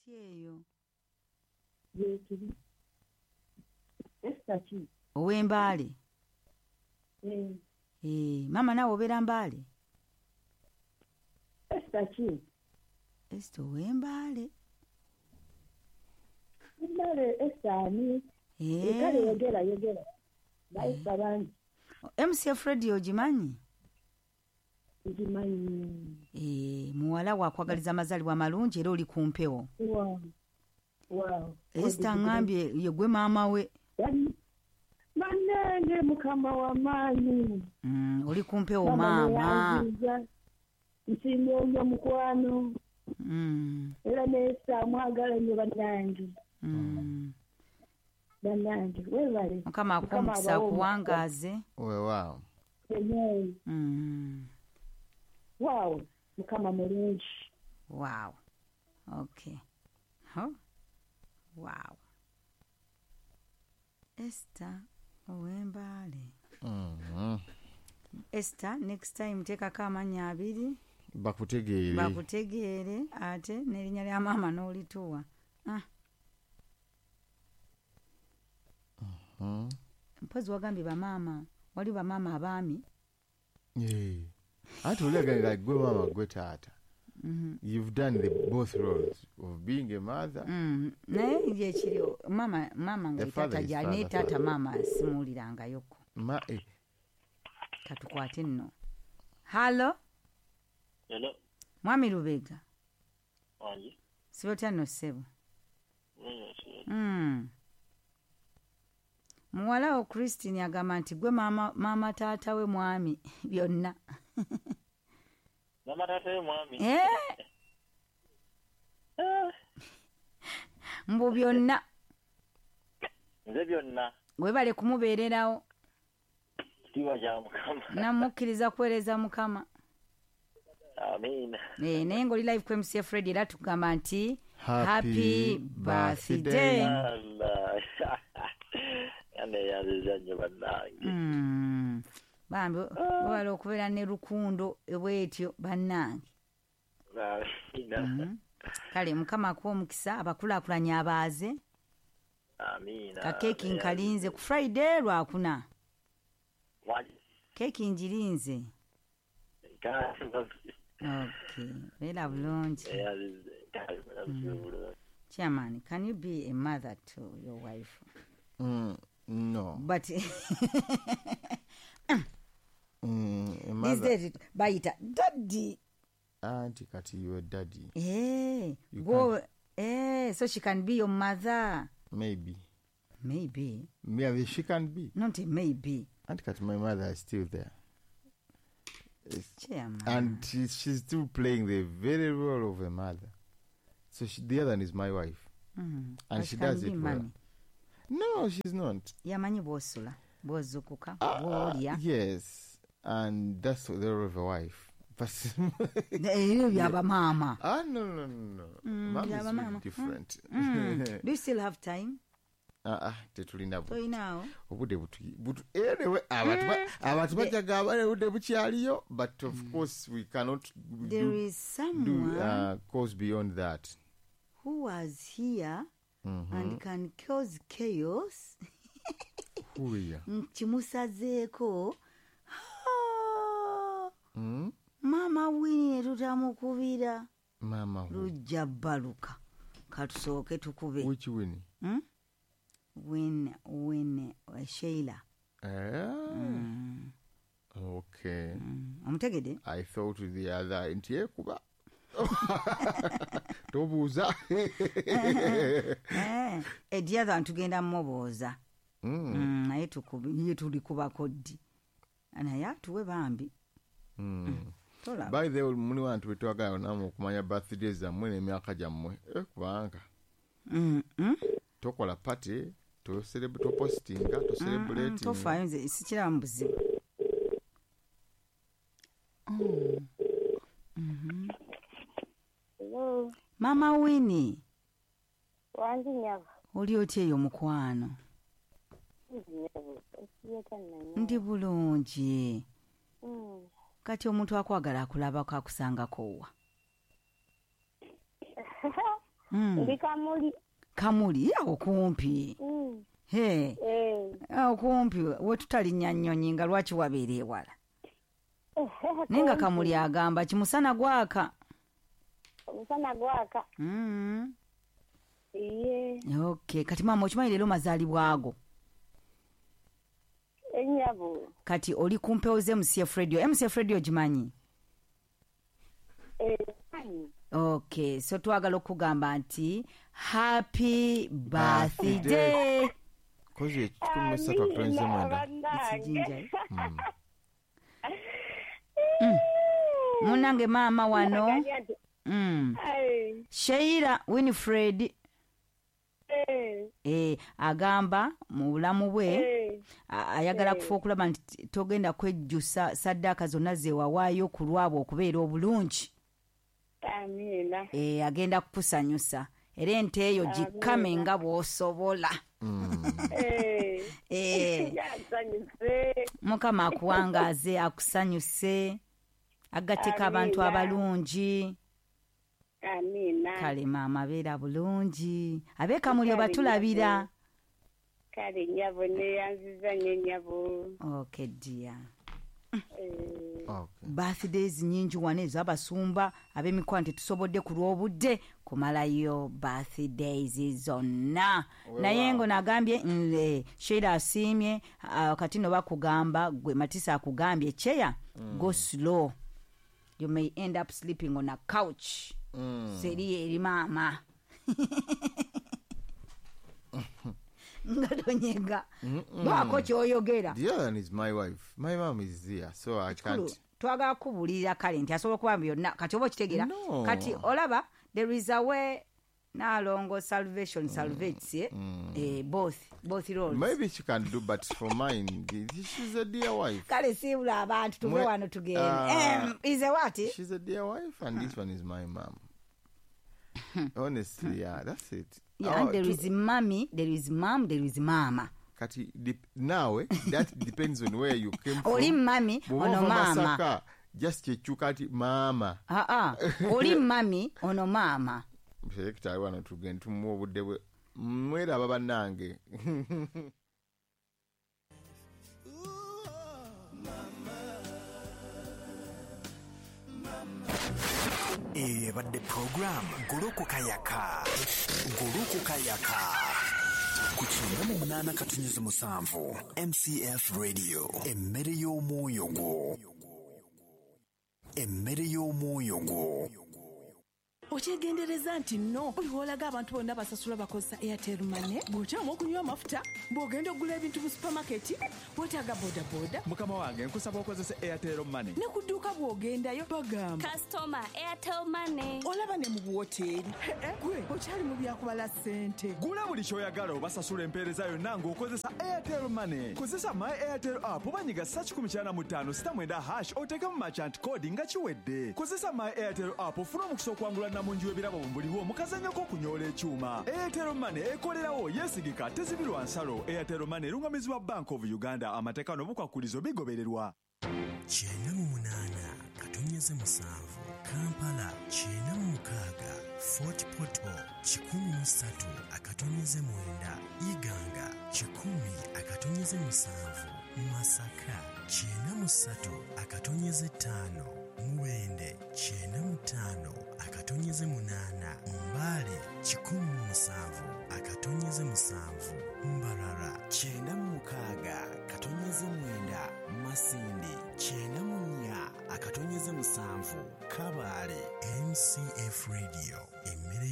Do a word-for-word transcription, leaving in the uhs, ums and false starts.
Otya eyo? Gyetuli. Esther ki? Ow'Embaale. Eh. Eh, maama naawe obeera Mbaale? Esther ki? Esther ow'Embaale. Mbaale Esther ani? Eh. Kale yogera yogera. Ba Esther bangi. M C F Radio ogimanyi? Ngimanyi. Eh, muwala wakwagaliza amazaalibwa amalungi era oli ku mpewo. Wow. Wow. Esther ngambye ye gwe maama we. Bannange Mukama w'amaanyi. Mm, oli ku mpewo maama. Nsiimye nnyo mukwano. Mm. Era ne Esther mwagala nnyo bannange. Mm. Bannange weebale. Mukama akuwe omukisa akuwangaaze. Weewaawo. Amen. Mm. Wow, Mukama mulungi. Wow. Okay. Huh? Wow. Esther ow'Embaale. Mm-hmm. Esther, next time teekako amannya abiri. Bakutegeere. Bakutegeere ate n'erinnya lya maama n'olituwa. Ah. Mm-hmm. Mpozi wagambye bamaama, wali bamaama abaami. Yeah. Ate olaga gwe maama gwe taata. Mm-hmm. You've done the both roles of being a mother. Mm. Naye ye kiri mama mama nga taata gyali naye taata maama simuwulirangayoko. Ma eh. Katukwate nno. Hello? Hello. Mwami Lubega. Wangi. Siba otya nno ssebo? Mm. Mm. Muwala wo Christine agamba nti gwe maama maama taata we mwami byonna. Mama taata we mwami. Eh? Mbu byonna. Nze byonna. Webale kumubeererawo. Kitiibwa kya Mukama. Namukkiriza kuweereza Mukama. Amiina. Eh, naye ng'oli live ku M C F Radio era tugamba nti happy, happy birthday. Allah. Neyanziza nnyo bannange. Mm. Bambi webale okubeera ne Rukundo bw'etyo bannange. Amiina. Mm. Kale Mukama akuwe omukisa abakulaakulanye abaaze. Amiina. Kakeeki nkalinze ku Friday lwakuna. Wangi. Keeki ngirinze. Kale. Okay, beera bulungi. Neyanziza. Kale Mm. Chairman, can you be a mother to your wife? Mm, no. But mm, a these mother. days bayita daddy. Auntie kati your daddy. Eh, You go can't. eh, so she can be your mother. Maybe. Maybe. Maybe she can be. Not a maybe. Auntie kati my mother is still there. It's, Chairman. and she, she's still playing the very role of a mother. So she, the other one is my wife. Mm. And But she she can does be it well. mommy. No, she's not. Yamanyi bw'osula, bw'ozuukuka, Ah, bw'olya. yes. And that's the role of a wife. But Ebyo byaba maama. ah, no, no, no, no. Mm, Mom is byaba really maama. different. Mm. Do you still have time? Ah, ah, tetulina bu- Toyinaawo? obudde butu- butu- anyway, abantu ba- abantu The- bajja gamba obudde bukyaliyo, but of course we cannot There do, is do someone uh, cause beyond that. who was here Mm-hmm. and can cause chaos. Who here? Kimusazeeko. Ah, Mm? Maama Winnie ne tutamukubira. Mama who? Lujja bbaluka. Katusooke tukube. Which Winnie? Hmm? Win, Win, uh, Sheila. Eh, Mm. okay. Mm. Omutegedde? I thought the other nti ekuba. Tobuuza. Eh, the other one tugenda mubuuza. Mm. Mm, naye tukube, ye tulikubako ddi. Naye atuwe bambi. Mm. Tolaba. By the way, muli wantu betwagala namwe okumanya birthday zammwe n'emyaka gyammwe. Eh, kubanga Mm, mm. tokola party, to celebrate, to postinga, to Mm, mm, celebrating. tofaayo nze sikiraba mu buzibu. Oh. Mhm. Hello. Mama Winnie, Wangi nnyabo. oli otya eyo mukwano? Nnyabo. Osiyeta nnannyabo. Ndi bulungi. Mm. Kati omuntu akwagala akulabako akusangako wa? Mm. Ndi Kamuli. Kamuli awo kumpi. Mm. He. Eh. Awo kumpi wetutalinnya nnyonyi nga lwaki wabeera ewala? Naye nga Kamuli agamba kimusana gwaka. Omusana gwaka. Mm. Iye. Okay, kati maama okimanyi leero mazaalibwa ago. Ennyabo. Kati oli ku mpewo ze M C F Radio. M C F Radio gimanyi? Eh. Okay, so twagala okugamba nti happy birthday. Kozi kikumi mu ssatu akutonyeze mwenda. It's Jinja. Mm. Munange maama wano. Mm. Sheila Winifred eh, agamba mu bulamu bwe a- ayagala kufa okulaba nti togenda kwejjusa saddaaka zonna ze wawaayo ku lwabwe okubeera obulungi. Amiina. Eh, agenda kukusanyusa era ente eyo gikame nga bw'osobola. Eh. Eh, Yansanyuse. Mukama akuwangaaze, akusanyuse, agatteko abantu Amiina. abalungi. Amiina. Kale maama, beera bulungi, abeekamuli Kale, obatulabira. Kale nnyabo, neeyanziza nnyo nnyabo. Okay dear. Eh. Okay. Birthdays nyingi wano ez'abasumba ab'emikwano, tetusobodde ku lw'obudde kumalayo birthdays zonna, naye ngo nagambye nle Sheila asiimye. ah, kati no bakugamba gwe Matisa akugambye cheya, go slow, you may end up sleeping on a couch. Mm. Seri eri maama nga tonyega bwako kyoyogera. The other one is my wife. My mom is here, so I Kikulu, can't. Twagala kubuulirira kale nti asobola okuba byonna kati oba okitegeera. No. Kati olaba there is a way Nalongo salvation salvates, eh? Eh, both both roles. Maybe she can do, but for mine, the- she's a dear wife. Kale siibula abantu tuve Mwe- wano tugende. Ah. Em, is a what? She's a dear wife, and this one is my mom. Honestly, yeah, that's it. Yeah, Oh, and there to- is mommy, there is mom, there is mama. Kati dep- now eh, that depends on where you came from. Oli mummy, Bw'oba ono ova maama. Masaka, just kyekyuka ati maama. Aa, oli mummy, ono maama. Selekita ali wano, tugende tumuwa obudde bwe. Mweraba bannange. Eyo ebadde puroguramu Golokoka Yaka. Golokoka Yaka ku kyenda mu munaana katunyuzi musanvu M C F Radio, emmere y'omwoyo gwo, emmere y'omwoyo gwo. Okyegendereza nti nno buli lw'olaga abantu bonna basasula bakozesa Airtel Money. Bw'okyama okunywa amafuta, bw'ogenda okugula ebintu mu supamaketi, weetaaga bodaboda. Mukama wange, nkusaba okozesa Airtel Money. Ne ku dduuka bw'ogendayo bagamba Customer, Airtel Money. Olaba ne mu buwoteeri gwe okyali mu byakubala ssente. Gula buli kyoyagala obasasula empeereza yonna ng'okozesa Airtel Money. Kozesa My Airtel app oba nyiga star kikumi kyana mu ttaano sita mwenda hash oteekemu merchant code nga kiwedde. Kozesa My Airtel app ofune omukisa okwangula namungi w'ebirabo buliwo mu kazannyo k'okunyoola ekyuma. Airtel Money ekolerawo, yeesigika, tezibirwa nsalo. Airtel Money erungamizibwa Bank of Uganda. Amateeka n'obukwakulizo bigobererwa. Kyenda mu munaana katonyeze musanvu Kampala, kyenda mu mukaaga Fort Portal, kikumi mu ssatu akatonyeze mwenda Iganga, kikumi akatonyeze musanvu Masaka, kyenda mu ssatu akatonyeze ttaano Mubende, kyenda mu ttaano akatonyeze munaana Mbale, kikumi mu musanvu akatonyeze musanvu Mbarara, kyenda mu mukaaga katonyeze mwenda Masindi, kyenda mu nnya akatonyeze musanvu Kabaale. M C F Radio, emmere.